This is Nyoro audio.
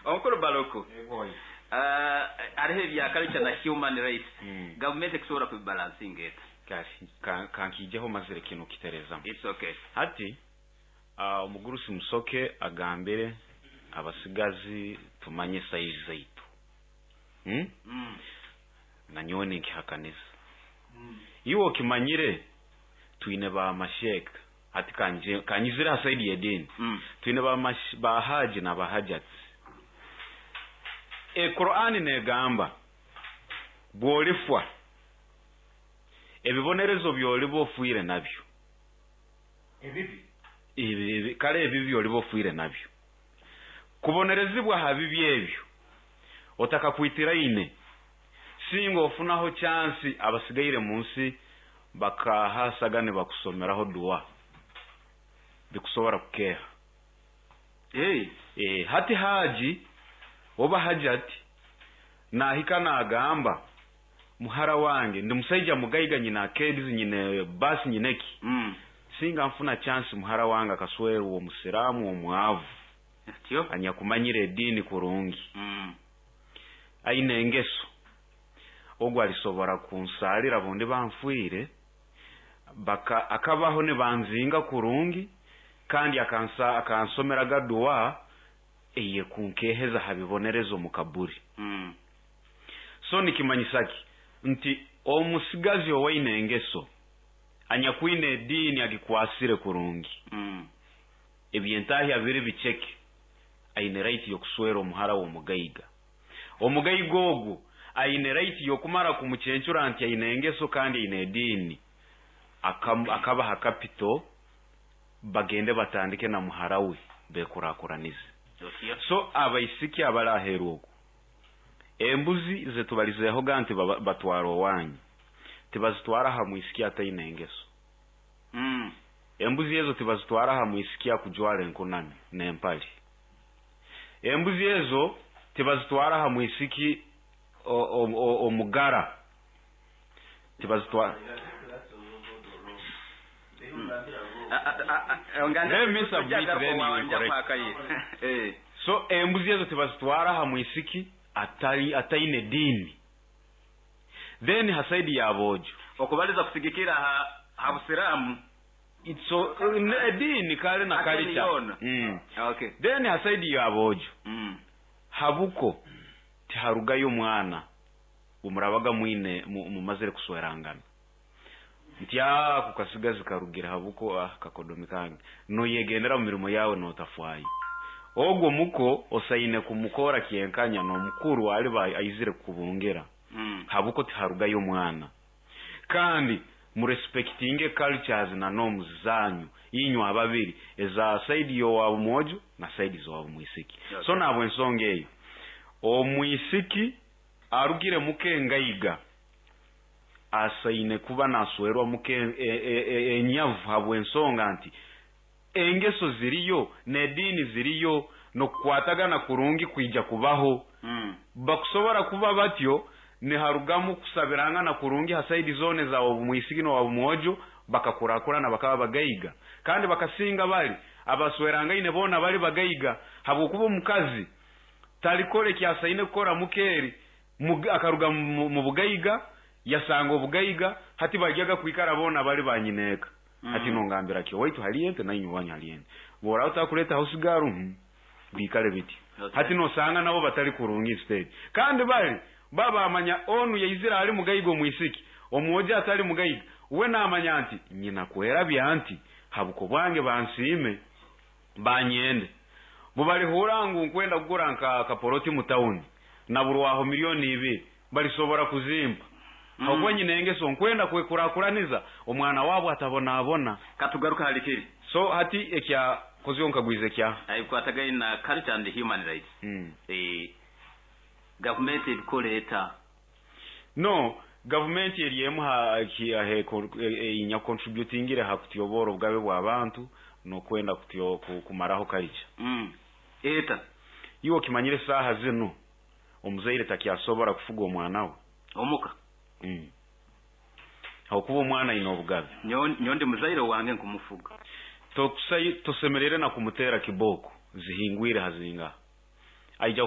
Omukuru Baluku, hariho ebya culture na human rights. Gavumenti ekusobora kubibalansinga eta? Kale kankiijeho mazire kinu kiterezamu. It's okay. Hati omugurusi Musoke agambire abasigazi tumanye size zaitu. Nanyowe ninkihakaniza. Iwe okimanyire twine ba masheeka, hati kanyizire ha side y'ediini. Twine ba haji na ba hajats. Ekurani negamba bw'olifwa ebibonerezo by'oliba ofiire nabyo ebibi. Kale ebibi oliba ofiire nabyo kubonerezibwa ha bibi ebyo otakakwitiraine, singa ofunaho chance abasigaire mu nsi bakahasaga nibakusomeraho dua, bikusobora kukeha. Hey. Hati haji oba hajati nahika nagamba, muhara wange ndi musaija mugaiga, nyina keds, nyine basi, nyineki, singa nfuna chance muhara wange akaswerwa omusiraamu omwavu Atyo. anyakumanyire ediini kurungi, aine engeso, ogwo alisobora kunsalira bundi banfwire baka akabaho nibanzinga kurungi, kandi akansomeraga dua eyekunkeheza ha bibonerezo mu kaburi. So nikimanyisa ki? Nti omusigazi owaine engeso anyakwine ediini agikwasire kurungi, ebyentahya biri biceke, aine right y'okuswera omuhara w'omugaiga. Omugaiga ogwo aine right y'okumara kumucencura nti aine engeso kandi aine ediini, akabaha capital bagende batandike na muhara we bekurakuranize. Otyo. So abaisiki abali aheeru okwo, embuzi zetubalizeehoga nti batwara owanyu, tibazitwara ha mwisiki ataine engeso. Embuzi ezo tibazitwara ha mwisiki akujwara enkunami n'empali. Embuzi ezo tibazitwara ha mwisiki omugara, tibazitwara. Let me submit, then you correct. So embuzi ezo tibazitwara ha mwisiki ataine diini. Then ha side ya bojo, okubaliza kusigikira ha busiraamu. So ediini kale na Ate culture. Yona. Okay. Then ha side ya bojo, habuko tiharugayo omwana bumurabaga mwine mumazire kuswerangana nti ako kasigazi karugire habuko, kakodomi kange, noyegendera mu mirimo yawe notafwayo. Ogwo muko osaine kumukora kyenkanya n'omukuru aliba aizire kukubungira. Habuko tiharugayo omwana. Kandi murespectinge cultures na norms zanyu inywe ababiri, eza side y'owabu mwojo na side z'owabu mwisiki. So nabwo ensonga eyo, omwisiki arugire muka engaiga asaine kuba naswerwa muka enyavu, habw'ensonga nti engeso ziriyo n'ediini ziriyo n'okukwatagana kurungi kwija kubaho. Bakusobora kuba batyo niharugamu kusabirangana kurungi ha side zone za obumwisiki n'owabumwojo, bakakurakurana bakaba bagaiga, kandi bakasinga bali abaswerangaine boona bali bagaiga, habwokuba omukazi talikora ekyasaine kukora mukeeri akaruga mu bugaiga yasanga obugaiga. Hati bajyaga kwikara boona bali banyineeka. Hati nongambira ki, owaitu hali ente nainywe wanyu hali ente, bworaba otakuletaho sigaru, biikale biti. Hati nosanga nabo batali kurungi instead, kandi bali baba bamanya onu yaizire ali mugaiga, omwisiki omwojo atali mugaiga we namanya nti nyina kwerabya nti habuko bwange bansiime banyende, bubalihura ngu nkwenda kugura nka kaporoti mu tawuni naburwaho 2 millioni balisobora kuzimpa, habwokuba nyina engeso nkwenda kwekurakuraniza omwana wabo atabonabona. Katugaruka hali kiri. So hati ekya kozyo nkagwiza ekya Ebikwatagaine na culture and human rights. Gavumenti ebikora eta? No, gavumenti eri emu inya contributingire ha kutyobora obugabe bw'abantu n'okwenda kumaraho culture. Eta? Iwe okimanyire saaha zinu omuzaire takyasobora kufuga omwana we omuka. Habwokuba omwana aine obugabe. Nyowe ndi muzaire wange nkumufuga. Tosemerere na kumutera kiboko zihingwire hazingaha aija.